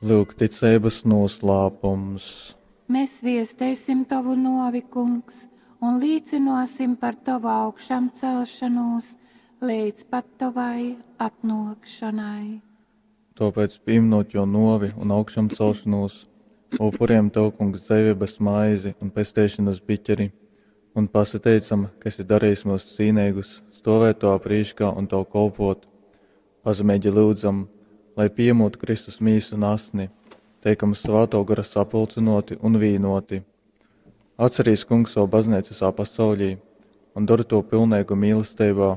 Lūk, ticeibas noslēpums. Mēs viesteisim Tavu novi, Kungs, un līcināsim par Tavu augšām celšanos līdz pat Tavai atnākšanai. Tāpēc, pieminot jo novi un augšām celšanos, upuriem Tev, Kungs, dzīvības maizi un pesteišanas biķeri, un pasateicam, ka esi darījis mūs cīnīgus, stovēt Tavā prīškā un Tev kolpot. Pazemīgi lūdzam, lai piemūt Kristus mīsu un asni, teikam svēto gara sapulcinoti un vīnoti. Atcerīs, Kungs, savu baznīcu visā pasaulī un dara to pilnīgu mīlestībā,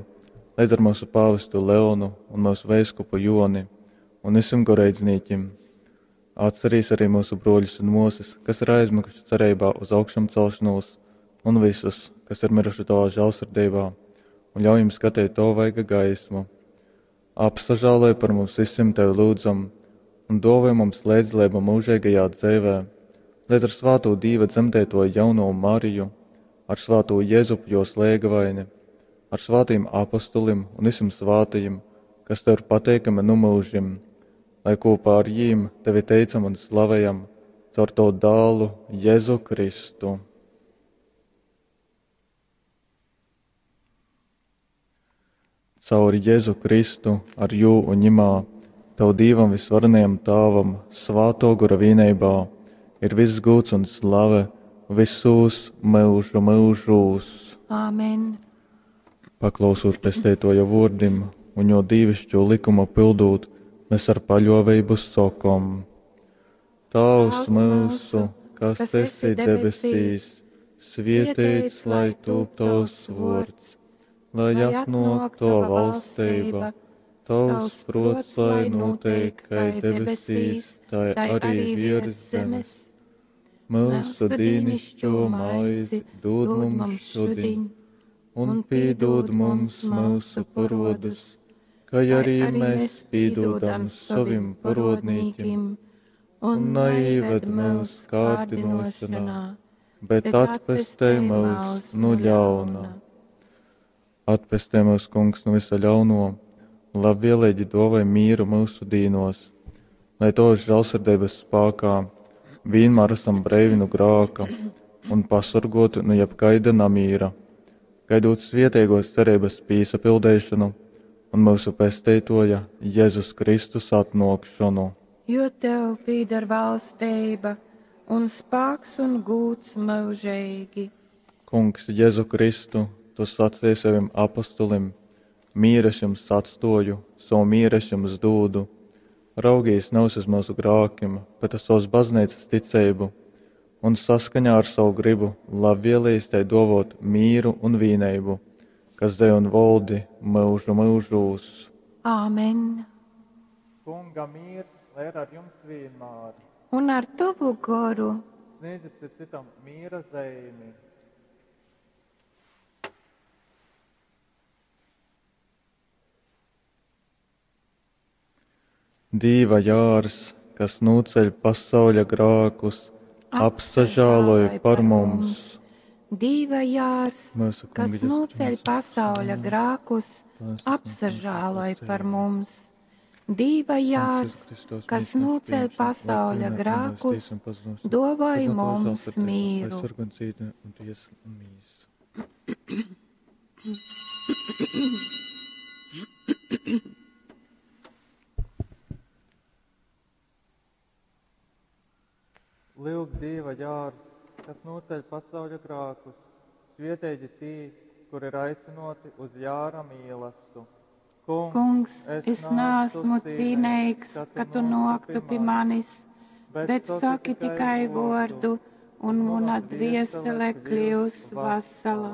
līdz ar mūsu pāvestu Leonu un mūsu veiskupu Joni un visiem goreidznīķim. Atcerīs arī mūsu broļus un mūsas, kas ir aizmiguši cerībā uz augšām celšanos, un visus, kas ir miruši tavā žēlsirdībā, un ļauj jums skatīt to vaiga gaismu. Apsažāloj par mums visiem tevi lūdzam, un dāvā mums līdzdalību mūžīgajā dzīvē, līdz ar svāto Dīva dzemdēto jauno Mariju, ar svāto Jēzupu jo slēgavaini, ar svātiem apostulim un visiem svātajiem, kas tev ir pateikami nu mūžim, lai kopā ar jīm tevi teicam un slavējam caur tavu dālu Jēzu Kristu. Caur Jēzu Kristu, ar jū un ņimā, Tavu Dīvam visvarenajam Tāvam, svāto gora vīneibā, ir viss gūts un slave visos mūžu mūžūs. Āmen. Paklausot pesteitoja vārdim un jo dīvišķo likumu pildūt, mēs ar paļovību sokom. Tavs mūsu, kas esi debesīs, svietēts, lai tūp tavs vārds, lai atnāk tava valstība, tavs prots, lai notiek, kai debesīs, tai arī virs zemes. Mūsu dīnišķo maizi dod mums šodien, un pīdod mums mūsu parodus, kā arī mēs pīdodam savim parodnīkim, un neīved mūs kārdinošanā, bet atpestē mūs no ļauna. Atpestē mūs, kungs, no visa ļauno, un labvēlīgi dovai mīru mūsu dīnos, lai tos žēlsirdības spākā vienmēr esam breivi no grāka un pasargoti no jebkaida namīra, gaidot svietēgos cerības pīsapildēšanu un mūsu pesteitoja Jēzus Kristus atnākšanu. Jo tev pīdar valstība un spāks un gūts mūžīgi. Kungs, Jēzu Kristu, tu sacīji saviem apostulim, mīru es jums atstoju, savu mīru es jums dūdu. Raugīs nevis uz mūsu grākiem, bet uz savas baznīcas ticību, un saskaņā ar savu gribu labvēlīs tai dovot mīru un vīneibu, kas dej un voldi mūžu mūžūs. Āmen. Kunga mīrs, lai ir ar jums vienmēr. Un ar tavu goru. Sniedziet citam mīra zīmi. Dīva jārs, kas nūceļ pasauļa grākus, apsažāloj par mums. Dīva jārs, Mūsu kas kunga Jēzus nūceļ Kristus, pasauļa grākus, apsažāloj par mums. Dīva jārs, kas nūceļ pasauļa grākus, dovai mums mīru. Lūk, Dieva jārs, kas noceļ pasauļa grākus, svietēji tī, kur ir aicinoti uz jāra mīlastu. Kungs, es neesmu cīnīgs, ka tu noktu pie manis, bet saki tikai vārdu, un mana dviesele kļūs vesela.